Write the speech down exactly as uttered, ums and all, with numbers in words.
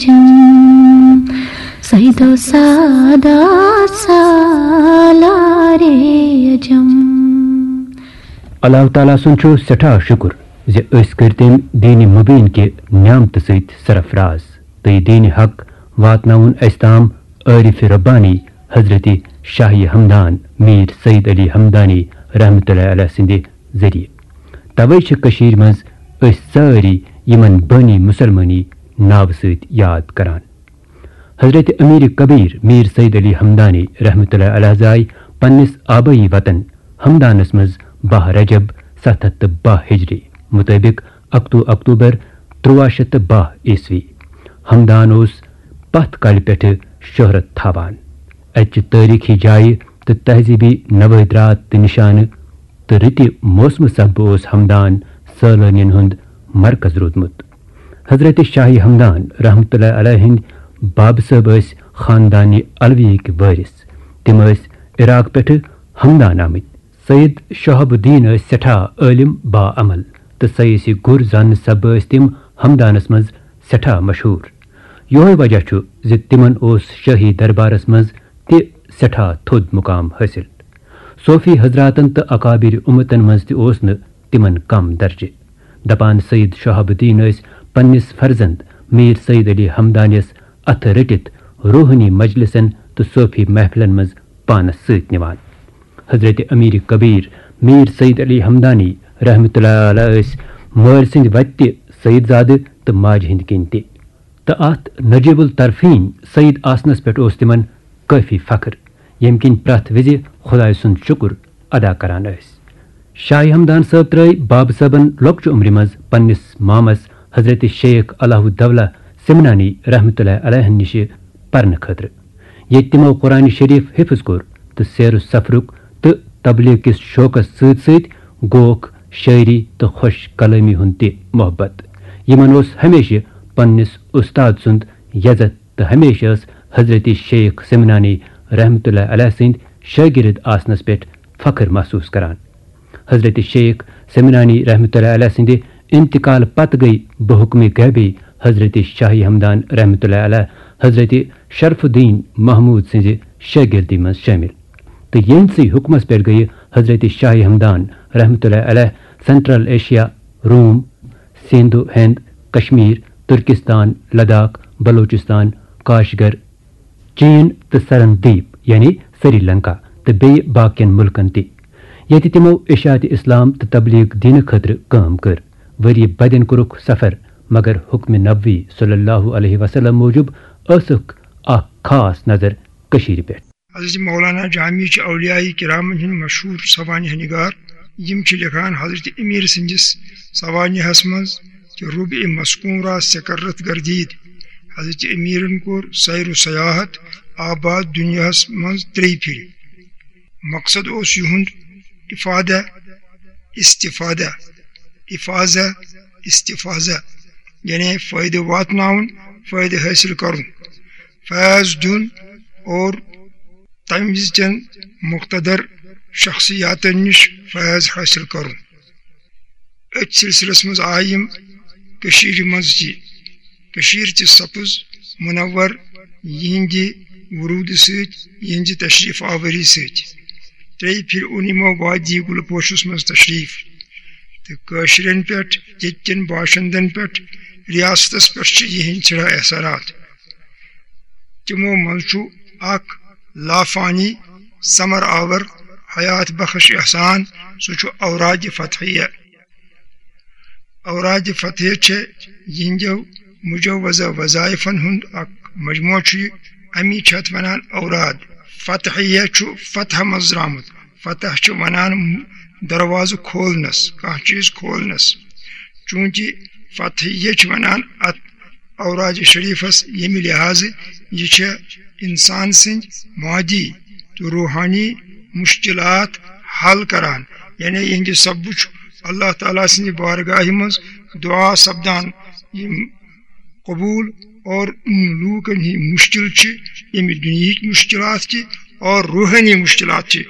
جم، سیدو سادات سالارِ عجم۔ اللہ تعالیٰ سُنٛد چھُ سٮ۪ٹھاہ شُکُر زِ أسۍ کٔرۍ تٔمۍ دیٖنِ مُبیٖن کہِ نعمتہٕ سۭتۍ سرفراز تہٕ یہِ دیٖنِ حق واتناوُن اَسہِ تام عٲرِفِ ربانی حضرت شاہی ہمدان میر سید علی ہمدانی رحمتہ اللہ علیہ سٕنٛدِ ذٔریعہٕ۔ توے چھِ کٔشیٖرِ منٛز أسۍ سٲری یِمن بٲنی مُسلمٲنی ناوٕ سۭتۍ یاد کران۔ حضرت امیر کبیر میر سید علی ہمدانی رحمتہ اللہ علیہ زاے پننِس آبٲیی وطن ہمدانس منٛز باہ رجب ستھ ہتھ تہٕ باہ ہجری مُطٲبِق اکتوٗ اکتوٗبر تُرٛواہ شیٚتھ تہٕ باہ عیسوی۔ ہمدان اوس پتھ کالہِ پٮ۪ٹھٕ شہرت تھاوان۔ اَتہِ چہِ تٲریٖخی جایہِ تہٕ تہذیٖبی نوٲدرات تہٕ نِشانہٕ تہٕ رٕتہِ موسمہٕ سببہٕ اوس ہمدان سٲلٲنین ہُنٛد مرکز روٗدمُت۔ حضرت شاہی ہمدان رحمتہ اللہ علیہ ہٕنٛدۍ بابہٕ صٲب ٲسۍ خاندانِ علویہٕکۍ وٲرِث۔ تِم ٲسۍ عراق پٮ۪ٹھٕ ہمدان آمٕتۍ۔ سید شہاب الدین ٲسۍ سٮ۪ٹھاہ عٲلِم باعمل تہٕ سیٲسی گُر زاننہٕ سببہٕ ٲسۍ تِم ہمدانس منٛز سٮ۪ٹھاہ مشہوٗر۔ یِہوٚے وجہ چھُ زِ تِمن اوس شٲہی دربارس منٛز تہِ سٮ۪ٹھاہ تھوٚد مُقام حٲصِل۔ صوفی حضراتن تہٕ اکابر اُمتن منٛز تہِ اوس نہٕ تِمن کم درجہٕ۔ دپان سید شہاب الدین ٲسۍ پننِس فرزند میر سید علی ہمدانیس اتھٕ رٔٹِتھ روحٲنی مجلسن تہٕ صوفی محفلن منٛز پانس سۭتۍ نِوان۔ حضرت امیر کبیر میر سید علی ہمدانی رحمتہ اللہ علیہ ٲسۍ مٲلۍ سٕنٛدِ وتہِ تہِ سید زادٕ تہٕ ماجہِ ہٕنٛدِ کِنۍ تہِ۔ تہٕ اتھ نجیب الطرفین سید آسنس پٮ۪ٹھ اوس تِمن کٲفی فخر، ییٚمہِ کِنۍ پرٛٮ۪تھ وِزِ خۄداے سُنٛد شُکر ادا کران ٲسۍ۔ شاہ ہمدان صٲب ترٲے بابہٕ صٲبن لۄکچہِ عمرِ منٛز پننِس مامس حضرت شیخ علاؤ الدولہ سمنانی رحمتہ اللہ علیہ نِشہِ پرنہٕ خٲطرٕ، ییٚتہِ تِمو قرآن شریف حفظ کوٚر تہٕ سیر و سفرُک تہٕ تبلیغ کِس شوقس سۭتۍ سۭتۍ گوکھ، شٲعری تہٕ خۄش کلٲمی ہُنٛد تہِ محبت۔ یِمن اوس ہمیشہِ پننِس اُستاد سُنٛد یزتھ تہٕ ہمیشہِ ٲس حضرت شیخ سمنانی رحمتہ اللہ علیہ سٕنٛدۍ شٲگرد آسنس پٮ۪ٹھ فخر محسوس کران۔ حضرت شیخ سمنانی رحمتہ اللہ علیہ سٕنٛدِ انتقال پتہٕ گٔے بحکم غیبی حضرت شاہی ہمدان رحمتہ اللہ علیہ حضرت شرف الدین محمود سٕنٛزِ شٲگردی منٛز شٲمِل۔ تہٕ یِہنٛدسٕے حُکمس پٮ۪ٹھ گٔیہِ حضرت شاہی ہمدان رحمتہ اللہ علیہ سینٹرل ایشیا، روم، سندھ و ہند، کشمیر، ترکستان، لداخ، بلوچستان، کاشغر، چین تہٕ سرن دیپ یعنی سری لنکا تہٕ بیٚیہِ باقین مُلکن تہِ، ییٚتہِ تِمو اشاعت اسلام تہٕ تبلیغ دینہٕ خٲطرٕ کٲم کٔر۔ ؤریہِ بدٮ۪ن کوٚرُکھ سفر، مگر حکم نبوی صلی اللہ علیہ وسلم موٗجوٗب ٲسٕکھ اکھ خاص نظر کٔشیٖرِ پٮ۪ٹھ۔ حضرت مولانا جامی چھِ اولیاء کرامن ہٕنٛدۍ مشہوٗر سوانح نگار۔ یِم چھِ لیکھان حضرت امیر سٕنٛدِس سوانحس منٛز کہ ربع مسکون را سکرت گردید۔ حضرت امیرن کوٚر سیر و سیاحت آباد دنیاہس منٛز ترٛیٚیہِ پھِرِ۔ مقصد اوس یِہُنٛد افادہ، استفادہ، افاظہ، استفاظہ، یعنی فٲیدٕ واتناوُن، فٲیدٕ حٲصِل کرُن، فیض دیُن اور تمہِ وِزِ چٮ۪ن مقتدر شخصیاتن نِش فیض حٲصِل کرُن۔ أتھۍ سلسلس منٛز آیہِ یِم کٔشیٖرِ منٛز تہِ۔ کٔشیٖر تہِ سپٕز منور یِہنٛدِ وروٗدٕ سۭتۍ، یِہنٛزِ تشریف آوری سۭتۍ۔ ترٛیٚیہِ پھِرِ اوٚن یِمو وادی گُلہٕ پوشس منٛز تشریف۔ تہٕ کٲشرٮ۪ن پٮ۪ٹھ، ییٚتہِ کٮ۪ن باشندن پٮ۪ٹھ، ریاستس پٮ۪ٹھ چھِ یِہنٛدۍ سٮ۪ٹھاہ احسانات۔ تِمو منٛز چھُ اکھ لافانی ثمر آور حیات بخش احسان، سُہ چھُ اورادِ فتحیہ۔ اورادِ فتحیہ چھِ یِہنٛدیو مجوزہ وظائفن ہُنٛد اکھ مجموعہ چھُ یہِ۔ امی چھِ اتھ ونان اوراد۔ فتحیہ چھُ فتح منٛز درامُت۔ فتح چھُ ونان دروازٕ کھولنس، کانٛہہ چیٖز کھولنس۔ چوٗنٛکہِ فتحیہ چھِ ونان اتھ اوراد شریفس، ییٚمہِ لحاظہٕ یہِ چھےٚ انسان سٕنٛدۍ مادی تہٕ روحانی مشکلات حل کران، یعنی یِہنٛدِ سببہٕ چھُ اللہ تعالیٰ سٕنٛدِ بارگاہہِ منٛز دعا سپدان، یِم قبول اور ان لوٗکن ہٕنٛدۍ مشکل چھِ، ییٚمہِ دُنیہٕکۍ مشکلات چھِ اور روحٲنی مشکلات چھِ،